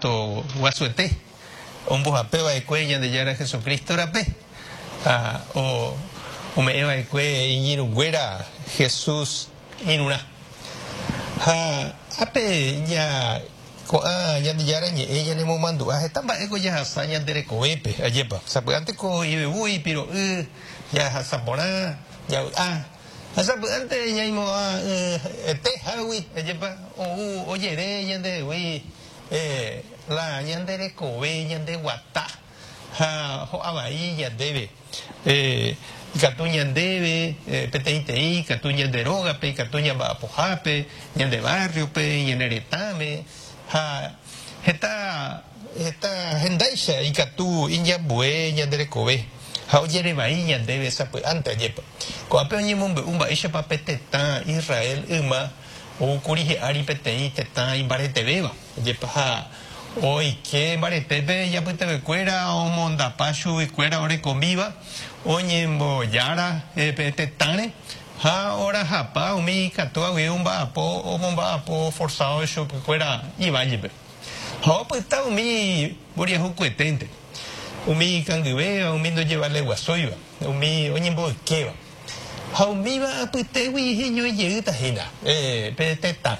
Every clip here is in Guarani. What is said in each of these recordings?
sánto guasuete ombohape va'ekue Ñandejára Jesucristo rape ha ome'ẽ va'ekue iñirũnguéra Jesús irũrã. Ha ápe ña ko'ã Ñandejára Ñe'ẽ ñanemomandu'a heta mba'éko jahasa ñande rekovépe, ajépa. Sapy'ánteko ivevúi, ipiro'y, jahasa porã, javy'a. Ha sapy'ánte ñaimo'ã ete hágui, ajépa, ou ojere ñandehegui la ñande rekove, ñande guata ha ho'a vai ñandéve. Ikatu ñandéve peteĩteĩ, ikatu ñande rógape, ikatu ñamba'apohápe, ñande barrio-pe, ñane retãme, ha heta heta hendáicha ikatu iñambue ñande rekove ha ojere vai ñandéve sapy'ánte ajépa. Ko'ápe oñemombe'u mba'éichapa pe tetã Israel yma oúkuri hi'ári peteĩ tetã imbaretevéva, ajépa ha Oike mbaretépe ijapytevekuéra omondapa chuguikuéra orekomíva oñembojára pe tetãre ha orahapa umi ikatúva guive omba'apo omomba'apo forzado chupekuéra ivállepe. Ha opyta umi mboriahukueténte, umi ikangyvéva, umi ndojevaleguasúiva, umi oñemboykéva. Ha umíva apytégui heñói jeýta hína pe tetã.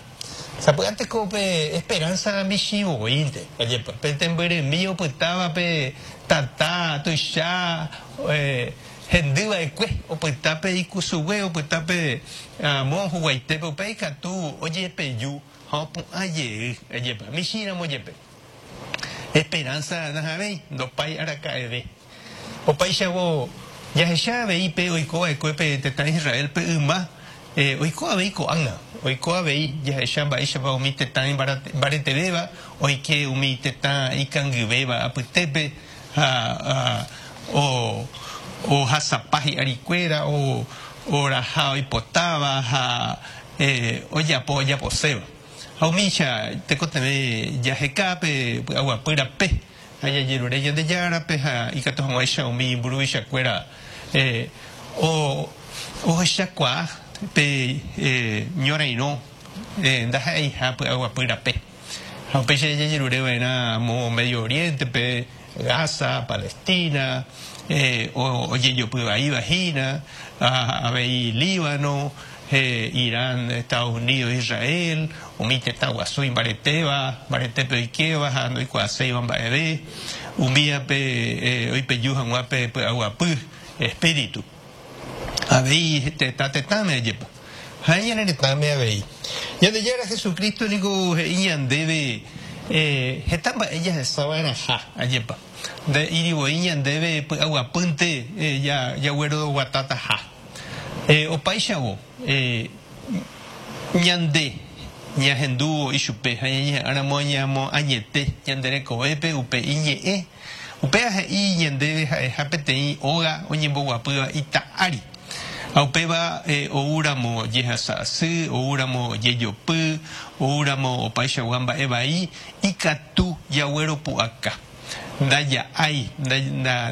Sapy'ánte ko pe esperánsa michĩ voínte, ajépa, pe tembyrymi opytáva pe tata tuicha hendy va'ekue, opyta pe ikusugue, opyta pe amo huguaitépe, upéi ikatu ojepeju ha opu'ã jey, ajépa, michĩ ramo jepe. Esperánsa nahavẽi, ndopái araka'eve. Opáichavo, jahecha avei pe oiko va'ekue pe tetã Israélpe yma, oiko avei ko'ág̃a. Oiko avei jahecha mba'éichapa umi tetã imbaretevéva oike umi tetã ikangyvéva apytépe ha ohasapa hi'arikuéra, oraha oipotáva ha ojapo ojaposéva. Ha umícha tekotevẽ jaheka pe py'aguapy rape. Ha jajerure Ñandejárape ha ikatu hag̃uáicha umi mburuvichakuéra ohechakuaa pe ñorairõ ndaha'eiha py'aguapy rape. Ha upéicha jajerure va'erã amo Medio Oriente-pe, Gaza, Palestina, ojejopy vaíva hína, avei Líbano, Irán, Estados Unidos, Israel, umi tetã guasu imbaretéva, mbaretépe oikéva ha ndoikuaaséiva mba'eve, umívape oipeju hag̃ua pe py'aguapy espíritu. Avei tetã tetãme ajepa. Ha ñane retãme avei. Ñandejára Jesucristo niko he'i ñandéve heta mba'e jahesa va'erãha, ajepa. Nde'íri voi ñandéve py'aguapýnte jagueroguatátaha. Opáichavo, ñande ñahendúvo ichupe ha ñañeha'ãramo ñamoañete ñande rekovépe upe iñe'ẽ, upéva he'i ñandéve ha'eha peteĩ óga oñemboguapýva ita ári. Ha upéva oúramo jehasa asy, oúramo jejopy, oúramo opaichagua mba'e vai, ikatu jagueropu'aka. Ndaja'ái,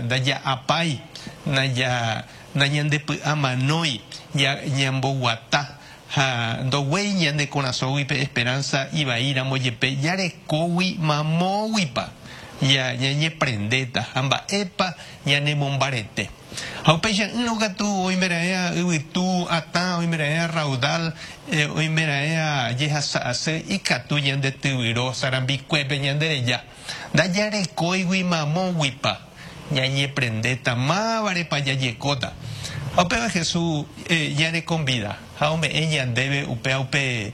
ndaja'apái, nañandepy'amanói ñamboguata ha ndoguéi ñane korasõgui pe esperánsa ivaíramo jepe jarekógui mamóguipa ñañeprendéta ha mba'épa ñanemombarete. Ha upeicha'ỹrõ katu oimeraẽa yvytu atã, oimeraẽa raudal, oimeraẽa jehasa asy ikatu ñande tyvyro sarambikuépe ñande reja. Ndajarekóigui mamóguipa ñañeprendéta, mávarepa jajekóta. Ha upéva Jesús ñanekonvida ha ome'ẽ ñandéve upéva upe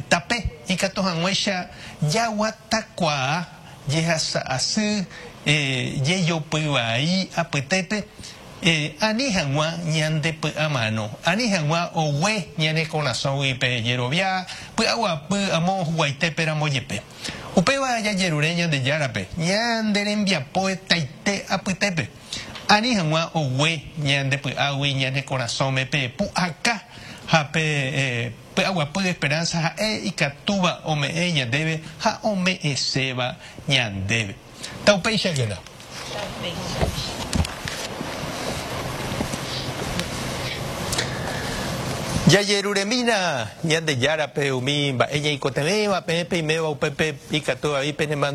tape ikatu hag̃uáicha jaguatakuaa jehasa asy jejopy vai apytépe ani hag̃ua ñandepy'amano, ani hag̃ua ogue ñane korasõgui pe jerovia py'aguapy amo huguaitépe ramo jepe. Upéva jajerure Ñandejárape ñande rembiapo etaite apytépe, ani hag̃ua ogue ñande py'águi ñane korasõme pe pu'aka ha pe py'aguapy esperánsa ha'e ikatúva ome'ẽ ñandéve ha ome'ẽséva ñandéve. Taupéichakena. Jajeruremína Ñandejárape umi mba'e ñaikotevẽva, peẽ peiméva upépe ikatu avei penemandu'a.